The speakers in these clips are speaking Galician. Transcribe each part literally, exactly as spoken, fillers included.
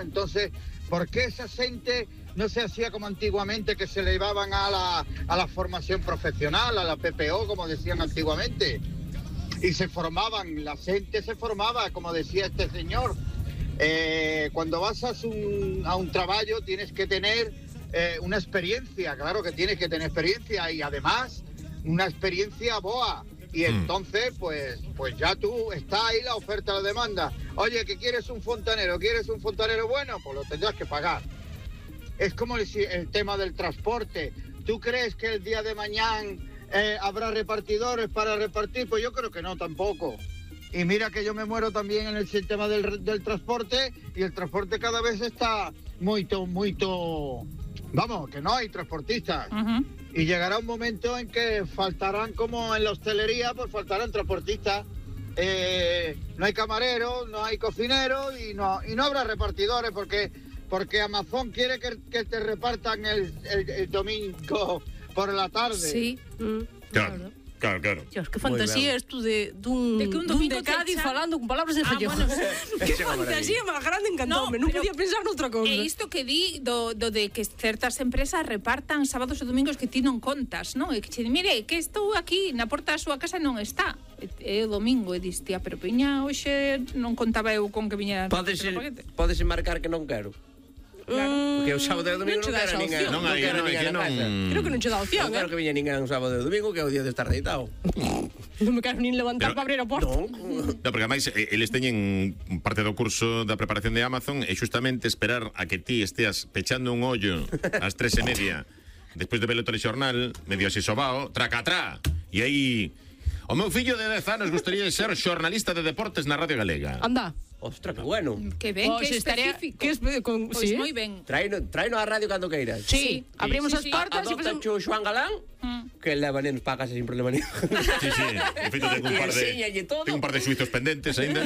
Entonces, ¿por qué esa gente no se hacía como antiguamente, que se le llevaban a la, a la formación profesional, a la P P O, como decían antiguamente? Y se formaban, la gente se formaba, como decía este señor. Eh, cuando vas a un, a un trabajo tienes que tener eh, una experiencia, claro que tienes que tener experiencia y además una experiencia boa. Y entonces, pues, pues ya tú, está ahí la oferta, la demanda. Oye, que quieres un fontanero, ¿quieres un fontanero bueno? Pues lo tendrás que pagar. Es como el, el tema del transporte. ¿Tú crees que el día de mañana eh, habrá repartidores para repartir? Pues yo creo que no, tampoco. Y mira que yo me muero también en el sistema del, del transporte, y el transporte cada vez está muy, muy, vamos, que no hay transportistas. Uh-huh. Y llegará un momento en que faltarán, como en la hostelería, pues faltarán transportistas. Eh, no hay camareros, no hay cocineros y no, y no habrá repartidores porque, porque Amazon quiere que, que te repartan el, el, el domingo por la tarde. Sí, mm, claro. claro. Claro, claro. Dios, que fantasía isto de dun, de que un domingo de Cádiz echa... falando con palabras en gallego. Ah, bueno, que fantasía máis grande, encantoume. Non podía pensar noutra cousa. E isto que di do, do de que certas empresas repartan sábados e domingos que ti non contas, non? E que che di, mire, que estou aquí na porta da súa casa non está. É o domingo, e dis, tía, pero piña, hoxe non contaba eu con que viñera... Podese, podese marcar que non quero. Claro. Porque o sábado e o domingo non, non quero ninguén. Non hai, non hai, que non... Creo que non che dá opción, non quero que viña ninguén un sábado e o domingo, que é o día de estar deitado. Non me quero nin levantar para abrir a porta. Non, no, porque ademais eles teñen parte do curso da preparación de Amazon e justamente esperar a que ti esteas pechando un ollo ás tres e media despois de ver o telexornal, medio así sobao, tracatrá, e aí... O meu fillo de dez anos gustaría ser xornalista de deportes na Radio Galega. Anda. Ostras, que bueno. Que ben, pues que específico. Que es, con, pues sí. moi ben. Traino, traino a radio cando queiras. Sí, sí. Abrimos sí, as portas sí. e pasamos... Adopta Xoan Galán, mm. que leva nenos para casa sin problema nenhum. Sí, sí. De feito, ten un par de ten un par de xuizos pendentes aínda.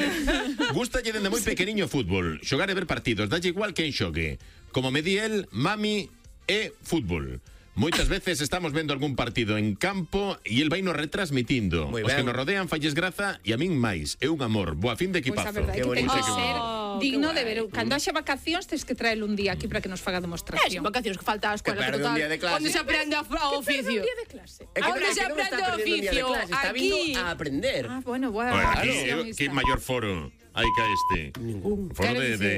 Gústalle dende moi pequeniño fútbol, xogar e ver partidos, dalle igual quen xogue. Como me di el, mami e fútbol. Moitas veces estamos vendo algún partido en campo e el vai nos retransmitindo. Os que nos rodean falles graza e a min máis. É un amor. Boa fin de equipazo. Pois pues a verdade é que ten que ser oh, digno de ver. Cando haxa vacacións tens que traer un día aquí para que nos faga demostración. É, vacacións que falta a escola total. Onde se aprende a oficio. Un día de clase. Onde se aprende o oficio. Está vindo a aprender. Ah, bueno, bueno. Que maior foro hai ca este? Ningún. Foro de... de...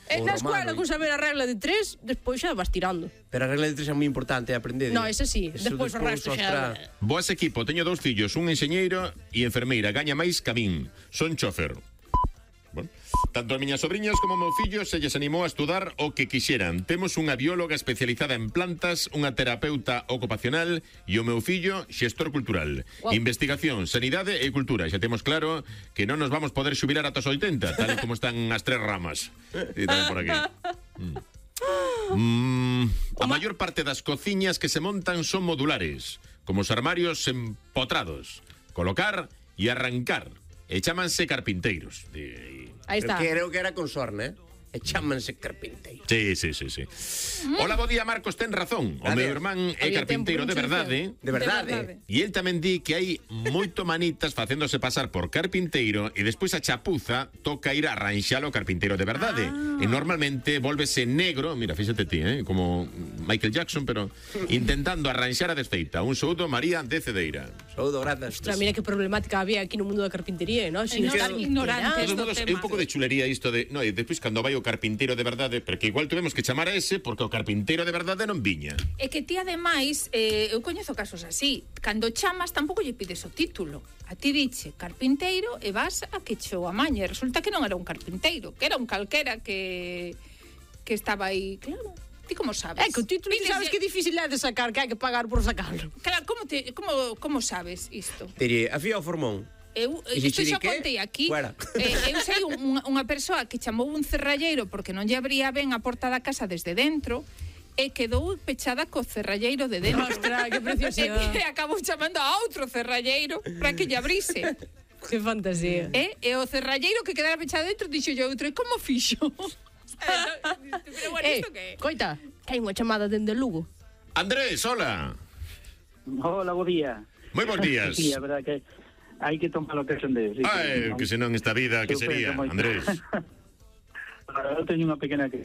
En na escola, con saber a regla de tres, despois xa vas tirando. Pero a regla de tres é moi importante aprender. No, ese sí, despois o resto xa... Boas equipo, teño dous fillos, un enxeñeiro e enfermeira, gaña máis que a min. Son chofer. Bueno, tanto as miñas sobriñas como o meu fillo se lles animou a estudar o que quixeran. Temos unha bióloga especializada en plantas, unha terapeuta ocupacional e o meu fillo xestor cultural. Wow. Investigación, sanidade e cultura. Xa temos claro que non nos vamos poder xubilar ata os oitenta, tal como están as tres ramas. E tamén por aquí. Mm. Mm, a maior parte das cociñas que se montan son modulares, como os armarios empotrados. Colocar e arrancar. E chámanse carpinteiros. E... Aí está. Creo que era con sorna, eh? E chámanse carpinteiros. Sí, sí, sí, sí. Mm. Hola, bo día, Marcos, ten razón. O meu irmán é carpinteiro de verdade. De verdade. E el tamén di que hai moito manitas facéndose pasar por carpinteiro e despois a chapuza toca ir a arranxalo carpinteiro de verdade. Ah. E normalmente volvese negro, mira, fíxate ti, eh? Como Michael Jackson, pero intentando arranxar a desfeita. Un saúdo, María de Cedeira. Saúdo, grazas. Ostras, mira que problemática había aquí no mundo da carpintería, ¿no? Sin estar ignorantes do tema. É un pouco de chulería isto de... No, e despois cando vai o carpinteiro de verdade, porque igual tuvemos que chamar a ese porque o carpinteiro de verdade non viña. É que ti ademais, eh, eu coñezo casos así, cando chamas tampouco lle pides o título. A ti diche carpinteiro e vas a que che o amañe. Resulta que non era un carpinteiro, que era un calquera que que estaba aí, claro. Ti como sabes? É que o título ti sabes que é difícil é de sacar, que hai que pagar por sacarlo. Claro, como te como como sabes isto? Tería a fía o formón. Eu, isto xa contei aquí. Eh, eu sei un, unha persoa que chamou un cerralleiro porque non lle abría ben a porta da casa desde dentro e quedou pechada co cerralleiro de dentro. Ostras, que preciosidade. E acabou chamando a outro cerralleiro para que lle abrise. Que fantasía. E, e o cerralleiro que quedara pechado dentro dixo yo outro, e como fixo? Pero bueno, eh, isto que? Coita, que hai unha chamada dende Lugo. Andrés, hola. Hola, bo día. Moi bons días. Sí, a verdade que hai que tomar lo que son de... Sí, Ai, que senón esta vida, que sería, Andrés? O Eu teño unha pequena